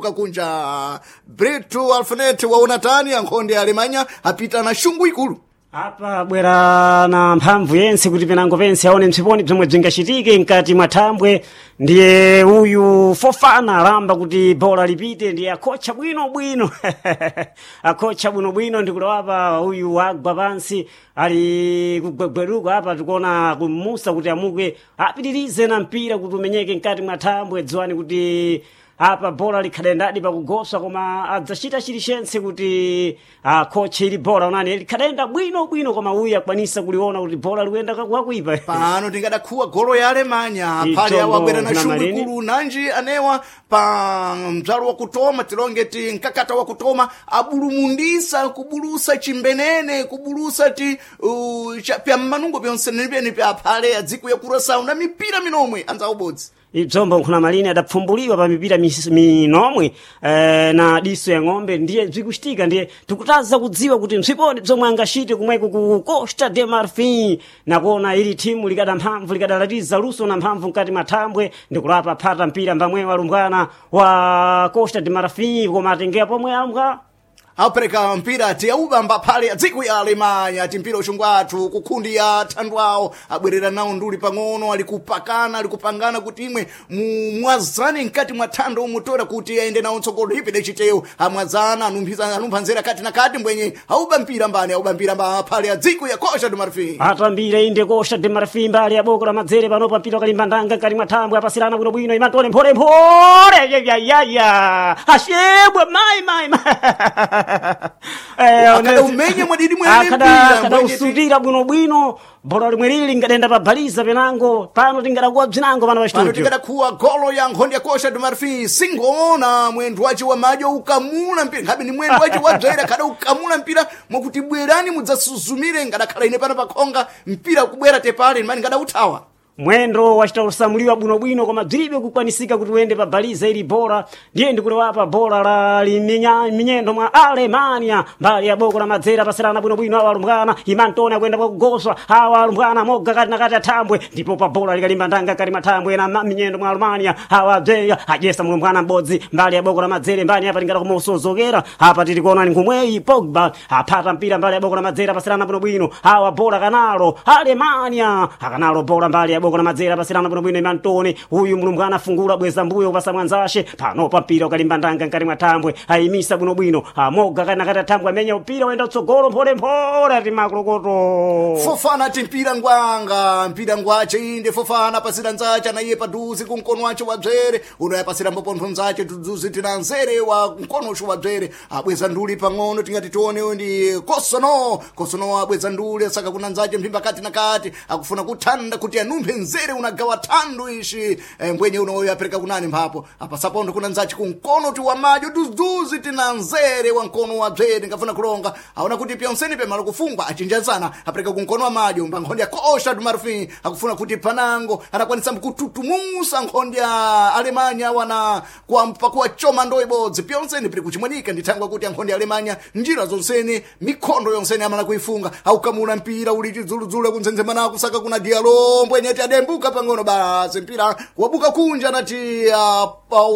Kunja Brito Alfanet waona tani ankhonde Alemanya apita na shungu ikulu. Apa bwera na mphamvu yense kuti penango pense aone mphiponi bzomwe bzingachitike mkati mwa thambwe. Ndiye uyu Fofana alamba kuti bola lipite, ndiye akhocha bwinobwino akhocha bwinobwino. Ndikulowapa uyu agwa pansi ali kugwegweruka apa, tikuona kumusa kuti amuke apitirize na mpira kuti umenyeke mkati mwa thambwe. Dziwani kuti apa bola likhadendadi pakugoswa, koma adzachita chilichonse kuti akhoche ili bola. Onani likhadenda bwino bwino, koma uyu akwanisa kuliona kuti bola likuyenda kwakuipa. Pano tingadakhuwa golo ya Alemanya phale awo Itombo abwera na na shungu malini. ikulu nanji anewa pa mdzalo wakutoma tilonge ti mkakata wakutoma abulumundisa kubulusa chimbenene kubulusa ti pya mmanungo pyonse pya phale adziko ya Curaçao na mipira minomwe anzawo bodzi. Ibzombo nkhuna malini adapfumbuliwa pa mipira minomwe na diso ya ng'ombe, ndiye bzikuchitika. Ndiye tikutaza kudziwa kuti mphiponi bzomwe angachite kumweko ku Costa de Marfin, nakuona ili thimu likada mphamvu likadalatiza luso na mphamvu mkati mwa thambwe. Ndikulapa phata mpira mbamwe walumbwana wa Costa de Marfin, koma atengea pomwe alumbwana. Apereka mpira ti aubamba phale adziko ya Alemanya ti mpira uxungu athu kukhundi ya thandu awo abwerera nawo nduli pang'ono ali kupakana ali kupangana kuti imwe mwazane mkati mwa thando umutora kuti aende nawo mtsogolo ipide chitewu amwazana anumpha nzera kati na kati mbwenye auba mpira mbani auba mpira mba phale adziko ya Costa do Marfim. Atambire inde Costa de Marfim mbali ya boko la madzere panopa mpira wakalimba ndanga mkati mwa thambwe apasirana bwinobwino imantole mphole mphole yayayaya ashebwa mai mai mai. Akada umenye mwadidi mwene mpira, akada mbwenye usutira bwinobwino bola limwe lili lingadenda pa baliza penango pano tingadakuwa bzinango pano pa pano studio. tikadakhuwa golo ya nkhondo ya Costa do Marfim singoona mwendo wace wa madyo ukamula mpira nkhabe ni mwendo wace wa dzera kada ukamula mpira mwakuti bwerani mudzasuzumire ngadakhala ine pano pakhonga mpira kubwera tepale mani ngadauthawa. Mwendo wachita kusamuliwa bwinobwino koma bzilibe kukwanisika kuti uyende pa baliza ili bora. Ndiye ndikulewapa bora la minyendo mwa Alemania mbali ya boko la madzera pasirana bwinobwino awa alumbwana imantoni akuyenda kwakugoswa awa alumbwana moga kati na kati athambwe ndipo pa bola likalimba ndanga kati mathambwe na minyendo mwa Alemania awa bzeya ajesa mulumbwana m'bodzi mbali ya boko la madzere mbani apa tingada kumusozokera apa tili kuona ni ngumweyi Pogba aphata mpira mbali ya boko la madzera pasirana bwinobwino awa bola kanalo Alemania akanalo bola mbali ya boko la madzera pasirana bwinobwino imantoni uyu mulumbwana afungula bweza mbuyo kupasa mwanzashe panopa mpira ukalimba ndanga nkati mwa thambwe ayimisa bwinobwino amoga kana kati athambwe amenya mpira wenda utsogolo mpholemphole ati makolokoto. Fofana ti mpira ngwanga mpira ngwace inde Fofana pasira nzace anaiye paduzi kumkono wace wa dzere uno yapasira mbopontho nzace tuduzi tina nzere wa mkono uxu wa dzere abweza nduli pang'ono tingati tione ndi Kosono Kosono abweza nduli asaka kuna nzace mphimba kati na kati akufuna kuthanda kuti anumphe nzere unagawa thandu ishi mbwenye unoyo apereka kunani mphapo apasapontho kuna nzace kumkono ti wa madyo duzuzi tina nzere wa mkono wa dzere ngafuna kulonga aona kuti pyonseni pemalo kufungwa achinjazana apereka kumkono wa madyo mba nkhonde ya Costa do Marfim akufuna kuti panango anakwanisa kututumusa nkhonde ya Alemanya wana kwampa kuwachoma ndo ibodzi pyonseni pili kuchimwanika ndithangwa kuti ankhonde ya Alemanya njira zonseni mikhondo yonseni amala kuifunga aukamula mpira uli chidzuludzulu kunzenzemana kusaka kuna Diallo mbwenyeti adembuka pang'ono basi mpira wabuka kunja anati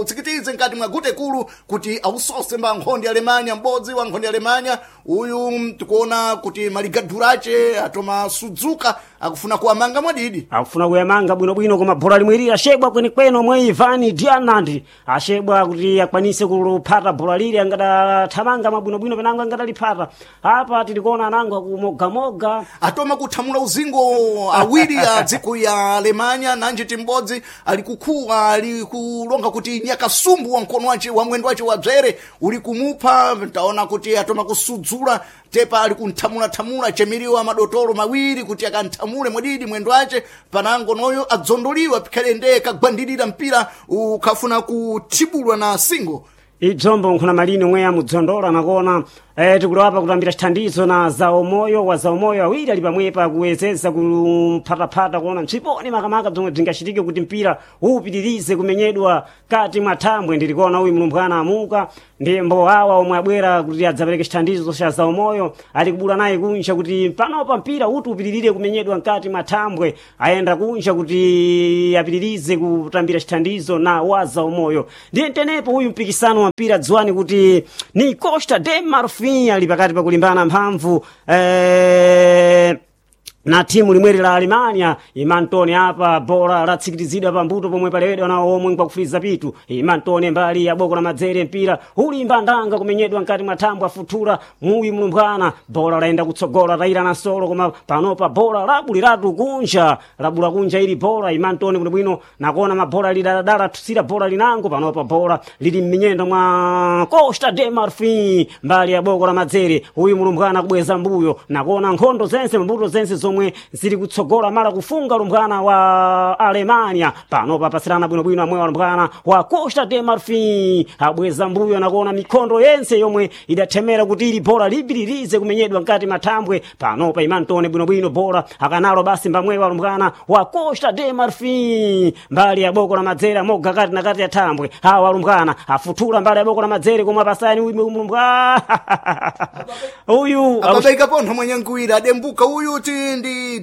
utsikitize mkati mwa gute kulu kuti ausose mba nkhonde ya Alemanya m'bodzi wa nkhonde ya Alemanya uyu tikuona kuti maligadurache atoma sudzuka akufuna kuwamanga mwadidi. Akufuna kuyamanga bwinobwino koma bhola limwe lili ashebwa kwenekwene omwe Ivan Dianandi ashebwa kuti akwanise kuphata bhola lili angadathamanga mabwinobwino penango angadaliphata apa tilikuona anango akumogamoga. Atoma kuthamula uzingo awiri a dziko ya Alemanya nanji timbodzi ali kukhuwa ali kulonga kuti nyakasumbu wa mkono wace wa mwendo wace wa dzere uli kumupha taona kuti atoma kusudzula tepa ali kunthamulathamula chemiriwa madotolo mawiri kuti akanthamule mwadidi mwendo wace panango noyo adzondoliwa pikhale ndeye kagwandirira mpira ukhafuna kuthibulwa na singo. Ibzombo nkhuna malini omwe amudzondola nakona. Tikulowapa kutambira chithandizo na zaumoyo wa zaumoyo awiri ali pamwepa kuwezeza kuphatapata kuona msiponi makamaka bzomwe bzingachitike kuti mpira upitirize kumenyedwa kati mwa thambwe. Ndilikuona uyu mlumbwana amuka ndiye mbo awa omwe abwera kuti adzapereke chithandizo cha zaumoyo ali kubula naye kunja kuti panopa mpira uti upitirire kumenyedwa mkati mwa thambwe, ayenda kunja kuti apitirize kutambira chithandizo na wa zaumoyo. Ndiye tenepo uyu mpikisano wa mpira dziwani kuti ni Costa de Marfin ali pakati pakulimbana mphamvu na timu limweri la Alemania. Imantone apa bola latsikilizidwa pambuto pomwe palewedwa nawo omwe nkwakufuliza pitu. Imantone mbali ya boko la madzere, mpira ulimba ndanga kumenyedwa mkati mwa thambwe, afuthula muyi mlumbwana, bola layenda kutsogola tayira na solo, koma panopa bola labuliratu kunja, labula kunja ili bola. Imantone bwinobwino nakuona mabola lidaladala athusira bola linango, panopa bola lili m'minyendo mwa Costa de Marfin mbali ya boko la madzere. Uyu mlumbwana kubweza mbuyo nakuona nkhondo zense mbuto zense zomwe zili kutsogola mala kufunga lumbwana wa Alemania. Panopa pasirana bwinobwino amwe walumbwana wa Costa de Marfin abweza mbuyo nakuona mikhondo yense yomwe idathemera kuti ili bola lipitirize kumenyedwa mkati mathambwe. Panopa Imantone bwinobwino bola akanalo basi mbamwe walumbwana wa Costa de Marfin mbali ya boko la madzere moga kati na kati ya thambwe. Hawa walumbwana afuthula mbali ya boko la madzere komwe apasani uyu mlumbwana uyu Ababaika pontho mwenye nkuwira adembuka uyu ti ndi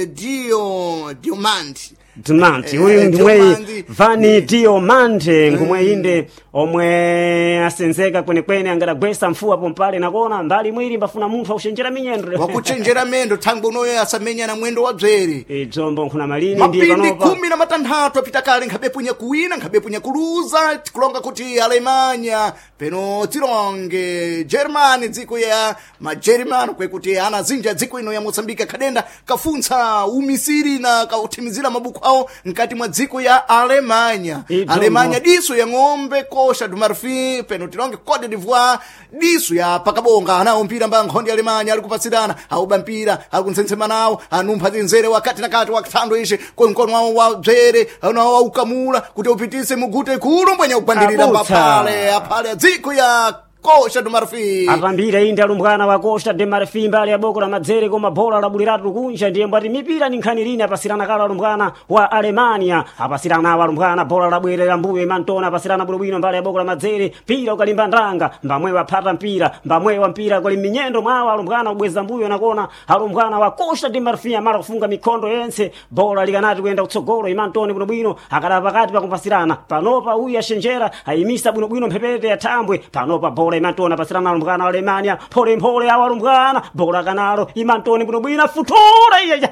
dio diomandi. Diamante uyu ndimwe Diomandi. Vani Diomante ngumwe inde omwe asenzeka kwenekwene angadagwesa mfuwa pompale nakona mbali mwiri mbafuna munthu akuchenjera minyendo Wakuchenjera mendo thangwe unoyo asamenya na mwendo wa bzere. Dzombo nkhuna malini ndiye Mapindi panopa 16 apita kale nkhabepunya kuwina nkhabepunya kuluza, tikulonga kuti Alemanya peno tilonge Germany dziko ya majerumani kwekuti ana zinja dziko ino ya Mosambika khadenda kafuntsa umisiri na kauthimizira mabuku awo mkati mwa dziko ya Alemanya. Idzombo. Alemanya diso ya ng'ombe Costa do Marfin peno tilonge Cote d'Ivoire diso ya pakabonga anawo mpira mba nkhondo ya Alemanya ali kupatsirana auba mpira akunsensema nawo anumpha zinzere wakati na kati wakuthando ishe kwa mkono wawo wa bzere anawo aukamula kuti upitise mugute kulu mbwenya kugwandirira Abutsa. mbaphale aphale dziko ya Costa do Marfin. Atambira inde alumbwana wa Costa de Marfin mbali ya boko la madzere koma bola labuliratu kunja ndiye mbati mipira ni nkhani lini apasirana kala alumbwana wa Alemania apasirana awo alumbwana bola labwerera mbuyo Imantona apasirana bwinobwino mbali ya boko la madzere mpira ukalimba ndanga mbamwe waphata mpira mbamwe wa mpira kuli minyendo mwawo alumbwana kubweza mbuyo nakona alumbwana wa Costa de Marfin amala kufunga mikhondo yense bola likanati kuyenda kutsogolo Imantone bwinobwino akada pakati pakumpasirana panopa uyu ashenjera ayimisa bwinobwino mphepete ya thambwe panopa bola Imantone apasirana alumbwana wa Alemania pholemphole awo alumbwana bola kanalo Imantone bwinobwino afuthula iye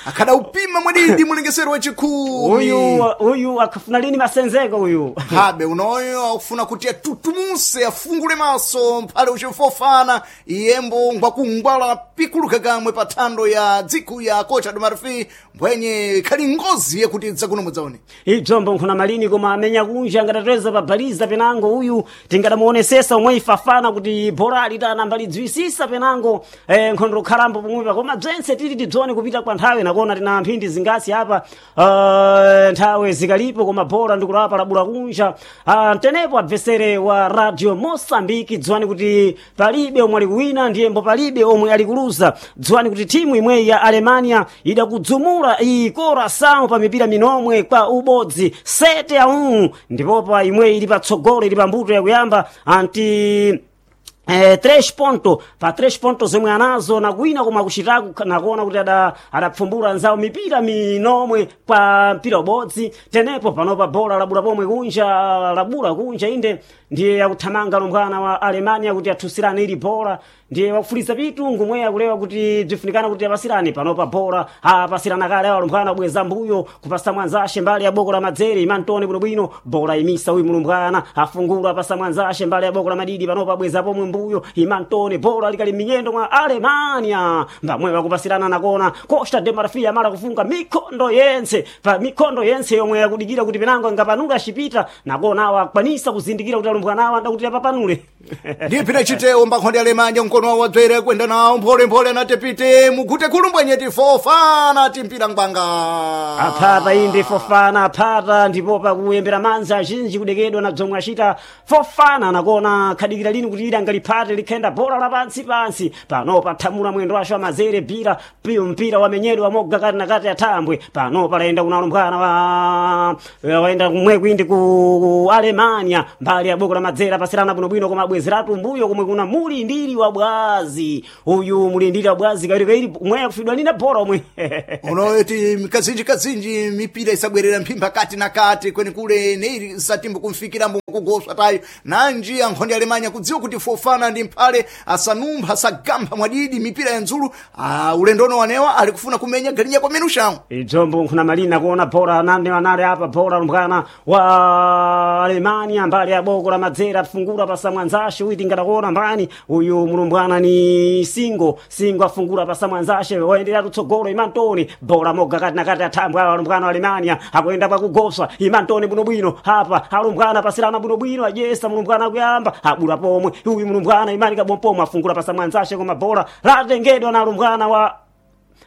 Akhada upima mwadidi mulengesero wachikumi uyu uyu akafuna lini masenzeko uyu habe unoyo akufuna kuti atutumuse afungule maso mphale uchifofana iyembo ngwakungwala pikuluka kamwe pa thando ya dziko ya Costa do Marfin mbwenye khali ngozi yekuti dzakuno mudzaone. Idzombo nkhuna malini koma amenya kunja angatatweza pabaliza penango uyu tingadamuonesesa omwe ifafana kuti borali tanambalidziwisisa penango nkhondo khalambo pomwepa koma bzense tili tidzone kupita kwa nthawi nakona tina mphindi zingasi apa nthawi zikalipo koma bora ndikulapa labula kunja. Tenepo adversere wa Radio Mosambiki dziwani kuti palibe omwe ali kuwina ndiyembo palibe omwe ali kuluza. Dziwani kuti timu imweyi ya Alemania idakudzumula iyi Coração pa mipira minomwe kwa ubodzi 7-1 ndipopa imweyi ili patsogolo ili pambuto yakuyamba anti 3 ponto pa 3 ponto zomwe anazo nakuwina koma akuchitaku nakuona kuti adapfumbula anzawo mipira minomwe kwa mpira ubodzi. Tenepo panopa bola labula pomwe kunja labula kunja inde ndiye akuthamanga lumbwana wa Alemania kuti athusirane ili bola ndiye wakufuliza pitu ngumwe akulewa kuti bzifunikana kuti apasirane panopa bola apasirana kale awo alumbwana kubweza mbuyo kupasa mwanzashe mbali ya boko la madzere Imantone bwinobwino bola imisa uyu mulumbwana afungula apasa mwanzashe mbali ya boko la madidi panopa abweza pomwe mbuyo Imantone bola likali minyendo mwa Alemania mbamwe wakupasirana nakona Costa de Marfil amala kufunga mikondo yense pa mikondo yense yomwe yakudikira kuti penango angapanula axipita nakona awa akwanisa kuzindikira kuti alumbwana awa ndakuti apapanule. Ndiye pina chitewo mbakhonde Alemanya mkono wawo wadzere kwenda nawo mpholemphole anati pite mugute khulumbwenyeti Fofana timpira ngwanga. Aphata inde Fofana aphata ndipo pakuyembera manza azinji kudekedwa na bzomwe acita Fofana nakona khadikira lini kuti ila ngaliphate likhenda bola la pansi pansi pano pathamula mwendo wacho amazere bira piyo mpira wamenyedwa moga kati na kati athambwe pano palayenda kunalumbwana wa waenda kumwe kwindi ku Alemania mbali ya boko la madzera pasirana bwinobwino koma abwezeratu mbuyo komwe kuna mulindiri wa bwazi uyu mulindiri wa bwazi kawirikawiri mweya kufidwa nina bora omwe. Unoti kazinji kazinji mipira isabwerera mphimba kati na kati kwenikule neili satimbo kumfikira kugoswa tayo nanji ankhonde Alemanya kudziwa kuti Fofana ndi mphale asanumpha asagamba mwadidi mipira ya nzulu ulendono wanewa ali kufuna kumenya galinya kwa menu shawo. Idzombo nkhuna malina kuona bora nane wanale apa bora lumbwana wa Alemania mbali ya boko la madzera afungura pasamwanzashe uiti ngatakuona mbani uyu mulumbwana ni Singo Singo afungura pasamwanzashe waendelea kutsogolo Imantoni bora moga kati na kati athambwe awa alumbwana wa Alemania akuyenda pakugoswa Imantoni bwinobwino apa alumbwana pasirana bwinobwino ajesa mulumbwana akuyamba abula pomwe uyu mulumbwana imani kabompomo afungura pasamwanzashe koma bora latengedwa na alumbwana wa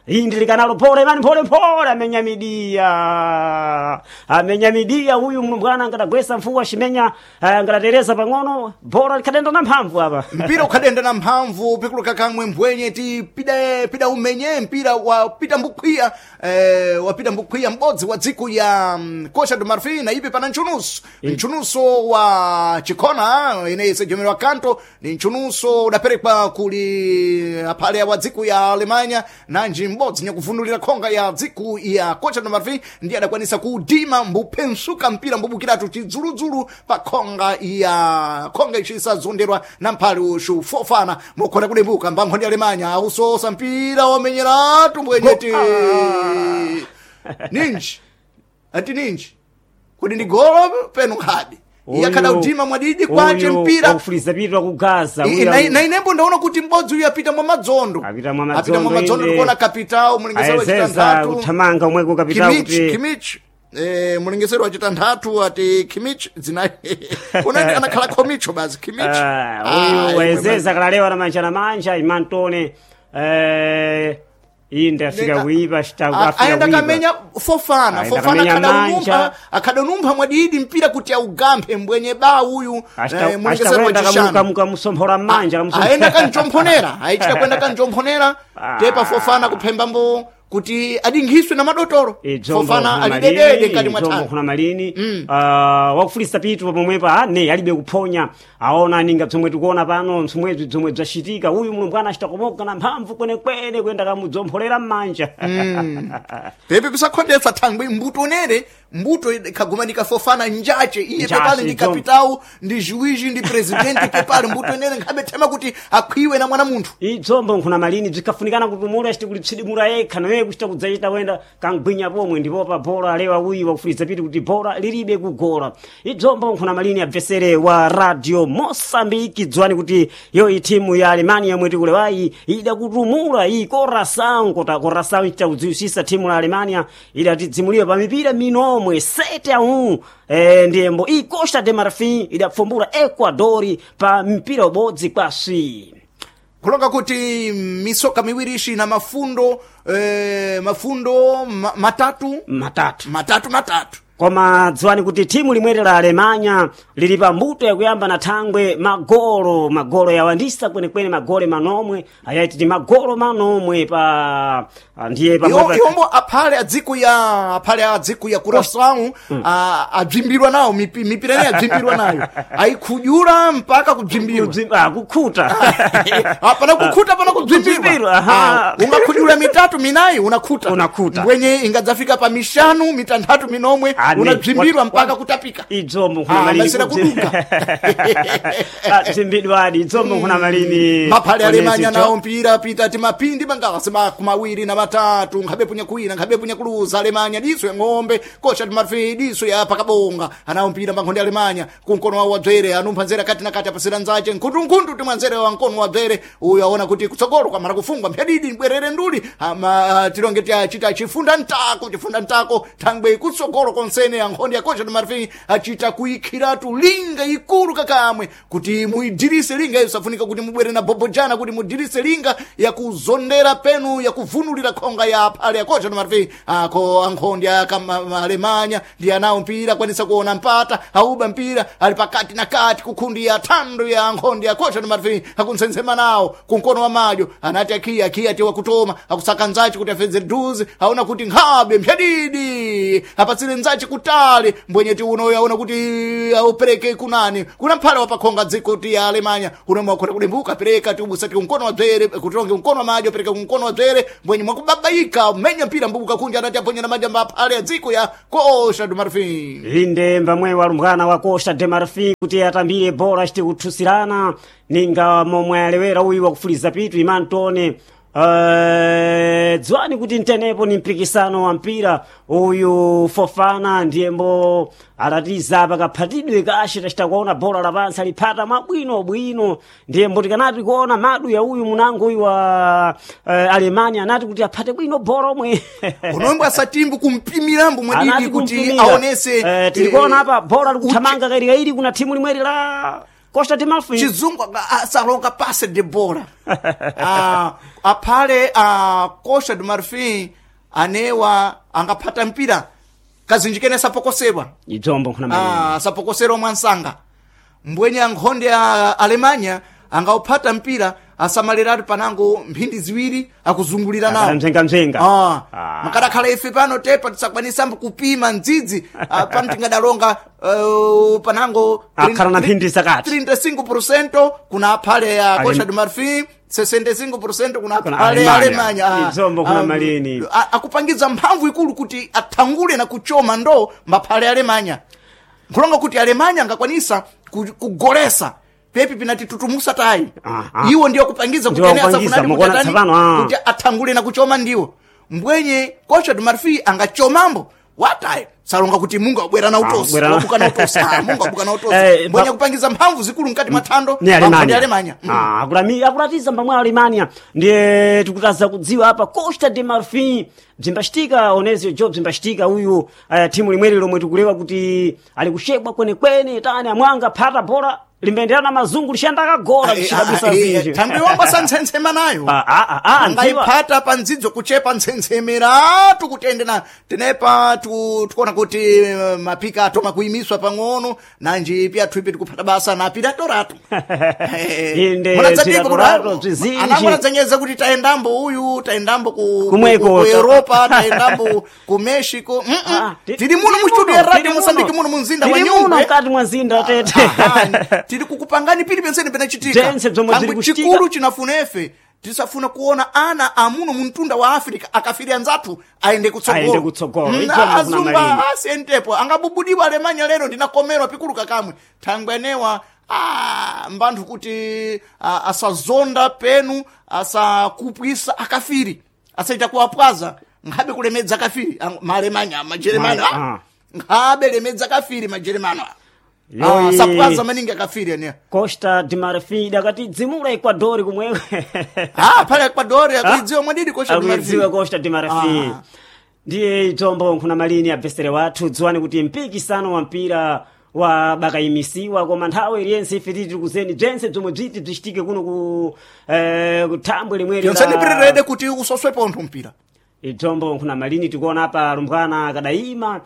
indi likanalo pole imani pole pole amenya midia amenya midia uyu mlumbwana angatagwesa mfuwa shimenya angatatereza pang'ono bora likadenda na mphamvu apa. Mpira ukhadenda na mphamvu pikuluka kamwe mbwenye ti pida pida umenye mpira wa pita mbukhwiya wapita mbukhwiya m'bodzi wa dziko ya Costa do Marfil na ipe pana nchunuso nchunuso wa chikhona ine sejomero kanto ni nchunuso udaperekwa kuli aphale wa dziko ya Alemanya nanji m'bodzi nyakuvundulira khonga ya dziko ya Costa do Marfil ndiye adakwanisa kudima mbuphensuka mpira mbubukiratu chidzuludzulu pa khonga ya khonga icisazonderwa na mphale ushu Fofana mokhona kudembuka mbankhonde Alemanya ausosa mpira wamenyeratu mbwenyeti ninji ati ninji kuti ndi golo penu khadi iye akhada udima mwadidi kwace mpira ufuliza pitwa ku Gaza na inembo ndaona kuti m'bodzi uyu apita mwa madzondo Apita mwa madzondo apita mwa madzondo inde. ndikuona kapitao mulingesero wa ayezeza chitanthatu kuthamanga omweko kapitao Kimich kuti Kimich mulingesero wa chitanthatu ati Kimich dzina unati anakhala Komicho basi Kimich. Uyu wayezeza kalalewa na manja na manja Imantone inde afika kuipa afika Aenda kuipa kamenya Fofana Aenda Fofana kamenya akadanumpha manja. akadanumpha mwadidi mpira kuti augamphe mbwenye ba uyu mulingesero wa chishanu kamusomphora mmanja aenda kanjomphonera aichita kwenda kanjomphonera tepa Fofana kuphembambo kuti adinghiswe na madotolo. Fofana alidedede mkati mwa Idzombo thanga kuna malini wakufulisa pitu pomwepa ne alibe kuphonya aona ninga bzomwe tikuona pano msomwebzi bzomwe bzacitika uyu mulumbwana achita kumoga na mphamvu kwenekwene kuyenda kamudzomphorera mmanja. Pepe pisakhondetsa thangwi mbuto unere mbuto ikhagumanika Fofana njache iye Njache, pepale ndi idzombo. kapitao ndi juiji ndi presidenti pepale mbuto inere nkhabe thema kuti akhwiwe na mwana munthu. Idzombo nkhuna malini bzikhafunikana kuti mulu achite kulipsidimula yekha naye kuchita kudzachita wenda kangwinya pomwe ndipo pa bora alewa uyu wakufuliza piti kuti bora lilibe kugola. Idzombo nkhuna malini abvesere wa Radio Mosambiki dziwani kuti yoyi timu ya Alemania yomwe tikulewayi idakutumula iyi Coração kota Coração ichita kudziwisisa timu la Alemania idatidzimuliwa pa mipira minomwe 7-1 ndiyembo iyi Costa de Marfil idapfumbula Ecuador pa mpira ubodzi kwa swi. Kulonga kuti misoka miwiri ishi na mafundo mafundo matatu matatu matatu matatu. Koma dziwani kuti timu limweri la Alemanya lili pa mbuto yakuyamba na thangwe magolo magolo yawandisa kwenekwene magole manomwe ayaiti ti magolo manomwe pa ndiye pamwepa Iwombo aphale adziko ya aphale a dziko ya Curaçao abzimbirwa nawo mipira ineyi abzimbirwa nayo ayikhudyula mpaka kubzimbirwa. Kukhuta. Pana kukhuta pana kubzimbirwa. Kubzimbirwa, aha. Ungakhudyula mitatu minayi unakhuta Unakhuta. mbwenye ingadzafika pa mishanu mitanthatu minomwe. Unabzimbirwa mpaka kutapika. Idzombo nkhuna malini. Masera kuduka. Bzimbidwadi idzombo nkhuna malini. Maphale Alemanya Onezio nawo mpira pita timapindi mangawa sema 23 nkhabe punya kuwina nkhabe punya kuluza. Alemanya diso ya ng'ombe kocha timafi diso ya pakabonga anawo mpira mankhonde Alemanya kunkono wawo wabzere anumpha nzere kati na kati apasira nzache nkhundunkhundu timwanzere wa mkono wabzere uyu aona kuti kutsogolo kwamara kufungwa mphadidi bwerere nduli ama tilonge tiachita chifunda ntako chifunda ntako thangwe kutsogolo konsene ankhonde ya kocha timafi achita kuikhiratu linga ikulu kakamwe kuti muidirise linga iyo safunika kuti mubwere na bobojana kuti mudirise linga yakuzondera penu yakuvunulira khonga ya phale yakocha timafi ako ankhonde akamalemanya ndi anawo mpira akwanisa kuona mpata auba mpira ali pakati na kati kukhundi ya thando ya ankhonde yakocha timafi akunsensema nawo kunkono wa madyo anati akhiya akhiya tiwa kutoma akusaka nzachi kuti afedze duzi aona kuti nkhabe mphyadidi apatsire nzachi kutali mbwenyeti unoyo aona kuti aupereke kunani kuna mphale wapakhonga dziko ti ya Alemanya unomwe wakhota kudimbuka pereka tiubusati kumkono wa dzere kutilonge kumkono wa madyo pereka kumkono wa dzere mbwenye mwakubabaika menya mpira mbubuka kunja anati aponya na manja maphale ya dziko ya Costa do Marfim. Inde mbamwe walumbwana wa Costa de Marfim kuti atambire bora chiti kuthusirana ninga momwe alewera uyu wakufuliza pitu imantone. Dziwani kuti ntenepo ni mpikisano wa mpira uyu Fofana ndiyembo alatiza pakaphatidwe kashe tachita kuona bora lapansi aliphata mwabwinobwino ndiyembo tikanati kuona madu ya uyu munango uyu wa Alemania anati kuti aphate bwino bora omwe. Unomwe asatimbu kumpimirambo mwadidi Anati kuti kumpimira. aonese Tilikuona apa bora likuthamanga kairikairi kuna timu limweri la Costa de Marfim. Chizungu asalonga passe de bola. Aphale a Costa do Marfim anewa angaphata mpira kazinjikene sapokosedwa. Idzombo nkhuna malini. Asapokoserwa mwansanga mbwenye ankhonde a Alemanya angaupata mpira asamaliratu panango mphindi ziwiri akuzungulira nawo. Mzengamzenga. Makadakhala ife pano tepa tisakwanisambo kupima ndzidzi pano tingadalonga panango Akhala na mphindi zakati. 35% kuna aphale ya Costa do Marfim, 65% kuna Kuna aphale ya Alemanya. Alemanya. Idzombo kuna malini. Akupangiza mphamvu ikulu kuti athangule na kuchoma ndo maphale Alemanya nkulonga kuti Alemanya angakwanisa kugolesa pepi pinati tutumusa tayi. Iwo ndiyo kupangiza kuti Ndiwo ene kupangiza, asafunati mukuona kuti atani- tsapano, ah. kuti athangule na kuchoma ndiwo mbwenye Costa do Marfim angachomambo watayi salonga kuti Mungu abwera na utosi Abwera na- wabuka na utosi. Mungu abuka na utosi mbwenye kupangiza mphamvu zikulu mkati mwa thando Ni Alemanya, Alemanya. Alemanya. Akulatiza mbamwe Alemanya ndiye tikutaza kudziwa apa Costa de Marfim bzimbachitika onezio jo bzimbachitika uyu timu limweri lomwe tikulewa kuti ali kushebwa kwenekwene tani amwanga phata bora limbenderana mazungu lixanda akagola bzixidabwisa zinji. Thangwe wamba santsensema nayo. Ndziwa. Angayiphata pa ndzidzo kuchepa ntsensemeratu kuti ende na tenepa tikuona kuti mapika atoma kuyimiswa pang'ono nanji pyathu ipi tikuphata basa na piratoratu. Inde piratoratu, bzizinji. Anamwanadzanyeza kuti tayendambo uyu tayendambo ku Kumweko. ku Europa tayendambo ku Mexico. Tili muno mu studio ya Radio Mosambiki muno mu mzinda wa Tili muno Nyungwe. mkati mwa mzinda tete. Aha, tili kukupangani pili pensene penachitika. Bzense bzomwe Thangwe bziri kuchitika. chikulu chinafunefe tisafuna kuona ana amuno muntunda wa Africa akafiri anzathu aende kutsogolo. Aende kutsogolo. Idzombo kuna Azumba malini. asentepo angabubudiwa Alemanya lero ndinakomerwa pikulu kakamwe thangwe anewa mbanthu kuti asazonda penu asakupwisa akafiri asaita kuwapwaza nkhabe kulemedza kafiri maalemanya majeremani nkhabe lemedza kafiri majeremani Yoyi. Sapwaza maningi akafiri anewa. Costa de Marfim dakati dzimula Ecuador kumwewe. Pale Ecuador akuidziwa mwadidi Costa de Marfim. Akuidziwa Costa de Marfim. Ndiye idzombo nkhuna malini abvesere wathu dziwani kuti mpikisano wa mpira wa bakayimisiwa koma nthawi iliyense ife tili tikuzeni bzense bzomwe bziti bzichitike kuno ku kuthambwe limweri Yonseni pirerede kuti usoswe pontho mpira. Idzombo nkhuna malini tikuona apa lumbwana akadayima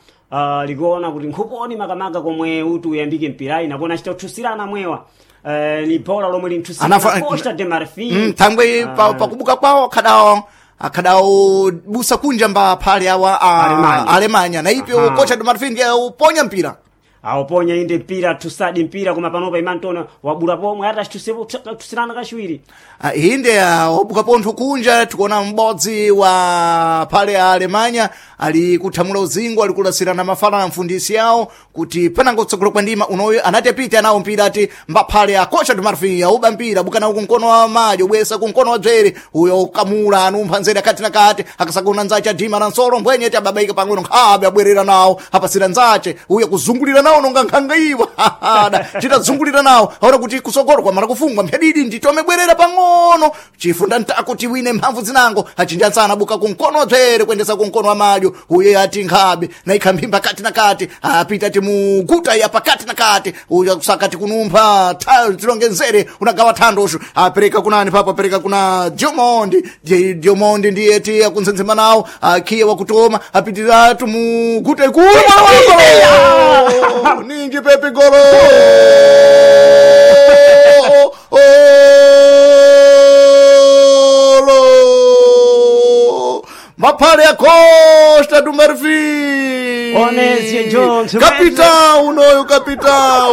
likuona kuti nkhuponi makamaka komwe uti uyambike mpirayi nakuona achita kuthusirana mwewa ni bora lomwe linthusirana Costa de Marfim. Thangwe pakubuka kwawo akhadawo akhadawo busa kunja mba phale awa Alemanya. Alemanya na ipyo Costa do Marfim ndiye uponya mpira. Auponya inde mpira tusadi mpira koma panopa imantona wabula pomwe ati achitusirana kachiwiri. Inde wabuka pontho kunja tikuona m'bodzi wa phale a Alemanya ali kuthamula uzingo ali kulasirana mafala na mfundisi yawo kuti panango kutsogolo kwa ndima unoyo anati apite nawo mpira ati mbaphale a Costa do Marfim auba mpira buka nawo kumkono wa madyo bwesa kumkono wa dzere uyo kamula anumpha nzere akati na kati akasakuna nzache adima na nsolo mbwenye ti ababaika pang'ono nkhabe abwerera nawo apasira nzache uyo kuzungulira nawo nonga nkhanga iwa chitazungulira nawo aona kuti kusogolo kwamala kufungwa mphedidi nditome bwerera pang'ono chifunda ntako tiwine mphamvu zinango achinjansana buka kumkono wa dzere kuendesa kumkono wa madyo uye ati nkhabe na ikhambimba kati na kati apita timuguta ya pakati na kati uyo kusakati kunumpha tilonge nzere unagawa thandosho apereka kunani papo apereka kuna Diomondi. Diomondi ndiye ti akunzenzema nawo akhiye wakutoma apitira tumuguta ikulu mwana wako ninji pepe golo olo maphale ya Costa do Marfim Onesie Jones, capitão unoyo capitão.